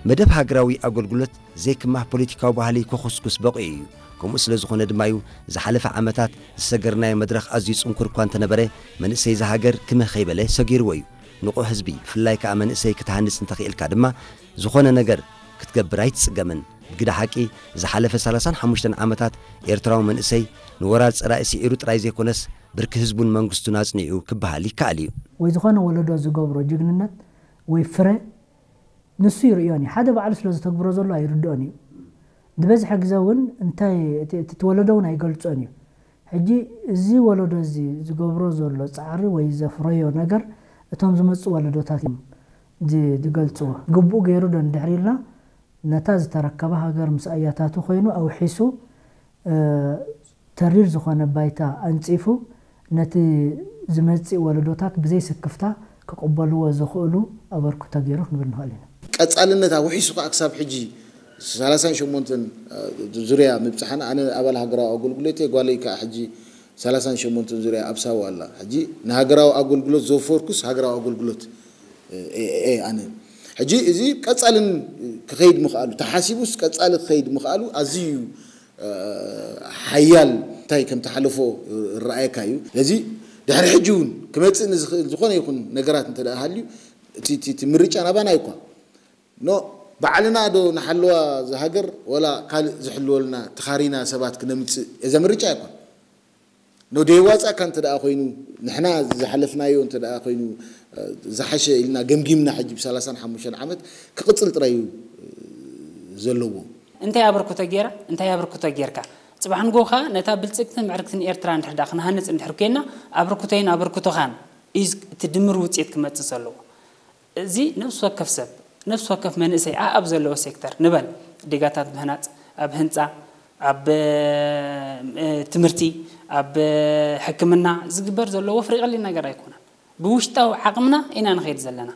መደብ ሃገራዊ ኣገልግሎት ዘይክማህ ፖለቲካዊ ባህሊ ክኹስኩስ በቒዑ እዩ። ከምኡ ስለ ዝኾነ ድማ እዩ ዝሓለፈ ዓመታት ዝሰገርናዮ መድረኽ ኣዝዩ ጽንኩር እኳ እንተነበረ፣ መንእሰይ እዛ ሃገር ክምህ ከይበለ ሰጊርዎ እዩ። ንቑሕ ህዝቢ፣ ብፍላይ ከኣ መንእሰይ ክትሃንጽ እንተኽኢልካ ድማ ዝኾነ ነገር ክትገብር ኣይትጽገምን። ብግዳ ሓቂ፣ ዝሓለፈ ሰላሳን ሓሙሽተን ዓመታት ኤርትራዊ መንእሰይ ንወራር ጸላኢ ስዒሩ ጥራይ ዘይኮነስ፣ ብርኪ ህዝቡን መንግስቱን ኣጽኒዑ ክበሃል ይከኣል እዩ። ወይ ዝኾነ ወለዶ ዝገብሮ ጅግንነት ወይ ፍረ ንሱ ይርእዮን እዩ። ሓደ ባዕሉ ስለ ዝተግብሮ ዘሎ ኣይርድኦን እዩ። ዝበዝሐ ግዜ እውን እንታይ እቲ እቲ ወለዶ እውን ኣይገልጾን እዩ። ሕጂ እዚ ወለዶ እዚ ዝገብሮ ዘሎ ጻዕሪ ወይ ዘፍረዮ ነገር እቶም ዝመጹ ወለዶታት እዮም ዝ- ዝገልጽዎ። ግቡእ ገይሩ ዶ እንድሕር ኢልና ነታ ዝተረከበ ሃገር ምስ ኣያታቱ ኮይኑ ኣውሒሱ እ፣ ተሪር ዝኾነ ባይታ ኣንጺፉ ነቲ ዝመጽእ ወለዶታት ብዘይ ስክፍታ ክቕበልዎ ዝኽእሉ ኣበርክቶ ገይሩ ክንብል ንኽእል ኢና። ቀጻልነት ኣውሒሱ ከዓ ክሳብ ሕጂ ሰላሳን ሸሞንተን ዙርያ ምብጻሕና ኣነ ኣባል ሃገራዊ ኣገልግሎት እየ፣ ጓለይ ከዓ ሕጂ ሰላሳን ሸሞንተን ዙርያ ኣብ ሳዋ ኣላ። ሕጂ ንሃገራዊ ኣገልግሎት ዘወፈርኩስ ሃገራዊ ኣገልግሎት እየ ኣነ። ሕጂ እዚ ቀጻልን ክኸይድ ምኽኣሉ ተሓሲቡስ ቀጻሊ ክኸይድ ምኽኣሉ ኣዝዩ ሓያል እንታይ ከም ተሓለፎ ረኣየካ እዩ። ስለዚ ድሕሪ ሕጂ እውን ክመፅእ ንዝኽእል ዝኾነ ይኹን ነገራት እንተ ደኣ ሃልዩ እቲ እቲ- እቲ ምርጫ ናባና እዩ እኳ ኖ ባዕልና ዶ ንሓልዋ ዝሃገር ወላ ካልእ ዝሕልወልና ተኻሪና ሰባት ክነምፅእ እዛ ምርጫ ኣይኮን ኖ ደይዋፃካ እንተ ደኣ ኮይኑ ንሕና ዝሓለፍናዮ እንተ ደኣ ኮይኑ ዝሓሸ ኢልና ገምጊምና ሕጂ ብ ሰላሳን ሓሙሽተን ዓመት ክቕፅል ጥራይ እዩ ዘለዎ። እንታይ ኣበርክቶ ገይራ እንታይ ኣበርክቶ ገይርካ ፅባሕ ንግሆ ከዓ ነታ ብልፅግትን ምዕርግትን ኤርትራ እንድሕር ደኣ ክንሃንፅ እንድሕር ኮይንና ኣበርክቶይን ኣበርክቶኻን እዩ እቲ ድምር ውፅኢት ክመፅእ ዘለዎ። እዚ ነፍሲ ወከፍ ሰብ ነፍሲ ወከፍ መንእሰይ ኣኣብ ዘለዎ ሴክተር ንበል ዲጋታት ምህናፅ ኣብ ህንፃ ኣብ ትምህርቲ ኣብ ሕክምና ዝግበር ዘሎ ወፍሪ ቀሊል ነገር ኣይኮነን። ብውሽጣዊ ዓቕምና ኢና ንኸይድ ዘለና።